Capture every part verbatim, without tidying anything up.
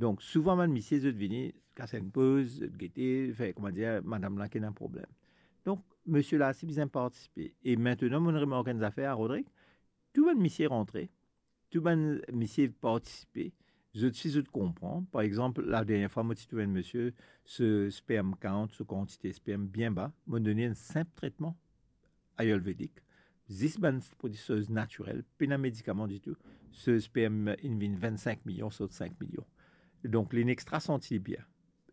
Donk, souvan, bann misie, zot vini, kas enn poz, zot gete, fer, kouma dir, madam la ki ena problem. Donk, misie la, si bizin partisipe. E aster, mo remark enn zafer, Rodrig, tou bann misie rantre, tou bann misie partisipe, zot si zot konpran. Par exanp, la dernie fwa, mo ti trouv enn misie, so sperm count, so kantite sperm bien ba, mo donn li enn sinp tretman ayurvedik, zis bann prodwi natirel, pena medikaman ditou, so sperm inn vinn vinn sink milion, sort sink milion. Donk, li extra santi bien.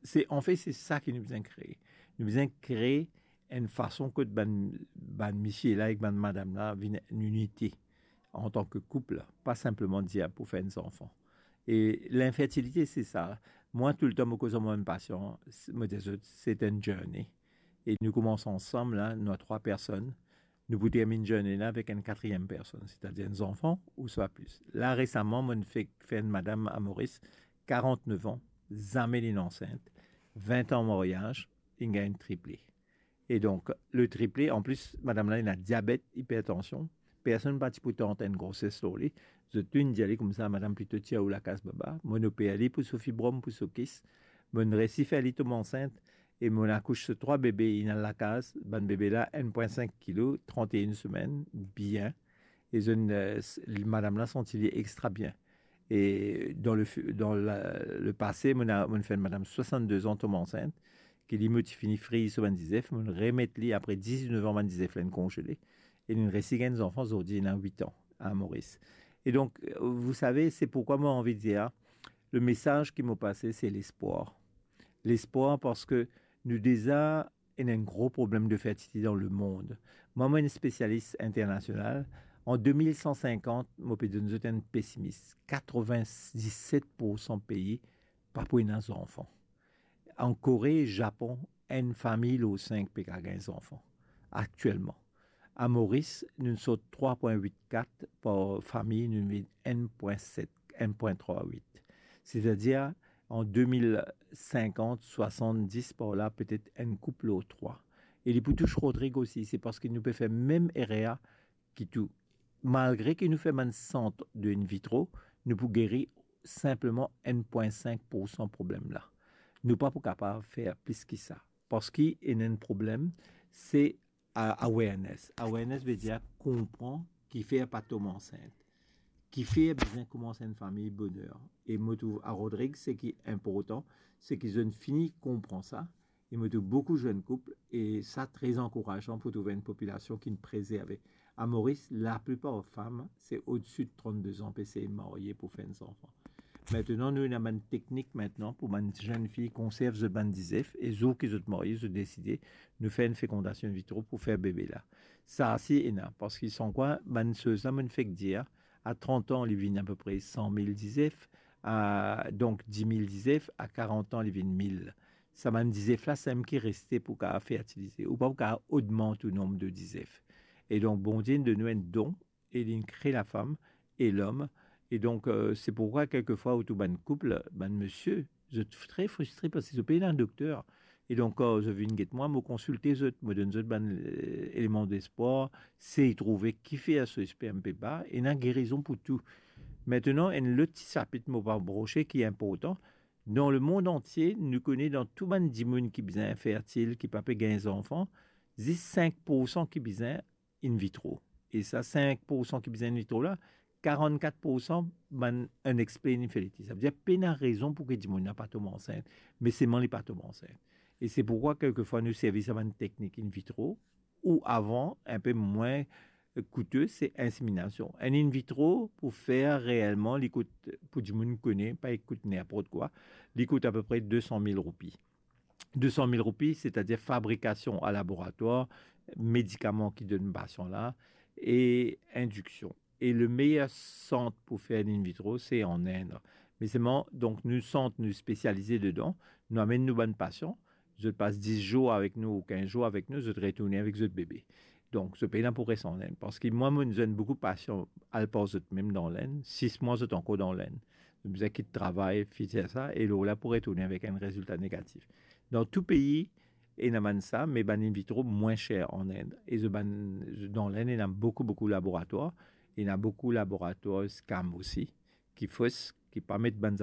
Se, anfet, se sa ki nou bizin kree. Nou bizin kree enn fason kot bann, bann misie la ek bann madam la vinn enn inite antan ki koup, pa sinpleman dir pou fer enn zanfan. E linfertilite, se sa. Mwa, toultan, mo koz ar mo bann pasian, mo dir zot, se enn journey. E nou koumans ansam la, nou trwa personn, nou pou terminn journey la avek enn katriem personn, setadir enn zanfan ouswa plis. La, resaman, mo fek fer enn madam a Moris, karant-nef an, zame linn ansint, vin an maryaz, inn gagn triple. E donk, le triple, an plis, madam la ena diabet, ipertansion, personn pa ti pou tant enn groses lor li. Zot tou inn dir li koumsa, madam, plito tir ou lakaz baba. Mo oper li pou so fibrom, pou so kis. Mo resi fer li tom ansint, e mo akouch so trwa bebe, inn al lakaz, bann bebe la, enn pwin sink kilo, trant-e-enn semenn, bien. E zot, eh, s-, madam la santi li extra bien. E dan le fi-, dan la, le pase, mo, mo fer madam swasann-de an tom ansint, ki li, mo ti fini friz so bann dizef, mo remet li apre diznef an bann dizef la inn konzele, e linn resi gagn zanfan, zordi ena wit an a Moris. E donk, vous savez, c'est pourquoi mo anvi dir, le mesaz ki mo pase, se lespwar. Lespwar, parski nou deza ena enn gro problem de fertilite dan lemond. Mwa, mo enn spesialis internasional. An de mil san sinkant, mo pe donn zot enn pesimis. Katrovin-diset poursan pei pa pou ena zanfan. An Kore, Zapon, enn fami lor sink pe kapav gagn zanfan aktielman. A Moris, nou sort trwa pwin wit kat par fami, nou vinn enn pwin set, enn pwin trwa wit. Setadir, an de mil sinkant, swasann-dis par la, petet enn koup lor trwa. E li pou tous Rodrig osi, se parski nou pe fer mem erer ki tou. Malgre ki nou fer bann sant de in vitro, nou pou geri sinpleman enn pwin sink poursan problem la. Nou pa pou kapav fer plis ki sa. Parski ena enn problem, se a-, awareness. Awareness vedir konpran kifer pa tom ansint, kifer bizin koumans enn fami boner. E mo trouv a Rodrig, seki inportan, seki zot inn fini konpran sa, e mo trouv boukou zenn koup, e sa tre ankourazan pou trouv enn popilasion ki'nn prezerve. A Moris, laplipar fam, se odsi de trant-de an pe sey marye pou fer enn zanfan. Aster, nou ena bann teknik aster pou bann zenn fi konserv zot bann dizef, e zour ki zot marye, zot deside, nou fer enn fekondasion in vitro pou fer bebe la. Sa si ena, parski san kwa, bann soz la, mo fek dir, a trant an, li vinn apepre san mil dizef, a, donk, dis mil dizef, a karant an, li vinn mil. Sa bann dizef la, seki reste pou kapav fertilize. Ou pa pou kapav ogmant ou nonb de dizef. E donk, Bondie inn donn nou enn don, e li inn kre lafam e lom. E donk, eh, se pourkwa kelkefwa ou trouv bann koup, bann misie, zot tre fristre parski zot pena dokter. E donk, kan zot vinn get mwa, mo konsilte zot, mo donn zot bann, eh, eleman despwar, sey trouve kifer so sperm pe ba, ena gerizon pou tou. Aster, enn lot ti sapit mo pa brose ki inportan, dan lemond antie, nou kone dan tou bann dimoun ki bizin infertil, ki pa pe gagn zanfan, zis sink poursan ki bizin in vitro. E sa sink poursan ki bizin in vitro la, karannkat poursan bann unexplained infertility. Savedir pena rezon pou ki dimoun la pa tom ansint, me selman li pa tom ansint. E se pourkwa kelkefwa nou servi sa bann teknik in vitro, ou avan, inpe mwin koute, se inseminasion. Enn in vitro, pou fer reelman, li kout, pou dimoun kone, pa li kout ninport kwa, li kout apepre de san mil roupi. De san mil roupi, setadir fabrikasion a laboratwar, medikaman ki donn pasian la, e indiksion. E le meyer sant pou fer in vitro, se an Ind. Me selman, donk, nou sant, nou spesialize dedan, nou amenn nou bann pasian, zot pas dis zour avek nou ou kinz zour avek nou, zot retourne avek zot bebe. Donk, zot pena pou res an Ind. Parski mwa, mo zenn boukou pasian al par zot mem dan Lind, sis mwa zot ankor dan Lind. Zot bizin kit travay, fini sa, e lor la pou retourne avek enn rezilta negatif. Dan tou pei, ena bann sa, me bann in vitro mwin ser an Ind. E zot bann, dan Lind, ena boukou, boukou laboratwar, ena boukou laboratwar scam osi, ki fos, ki pa met bann zaf-,